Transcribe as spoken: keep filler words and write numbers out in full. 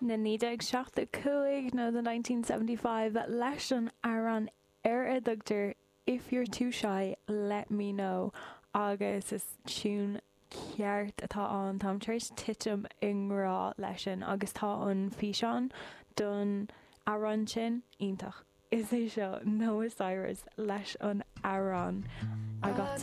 Na naoi déag seachtó cúig nó the nineteen seventy five leis an amhrán ar a dtugtar If You're Too Shy Let Me Know agus is tiún ceart atá ann táim tar éis titim i ngrá leis sin agus tá an físeán don amhrán sin iontach. Is é seo Noah Cyrus leis an amhrán I Got to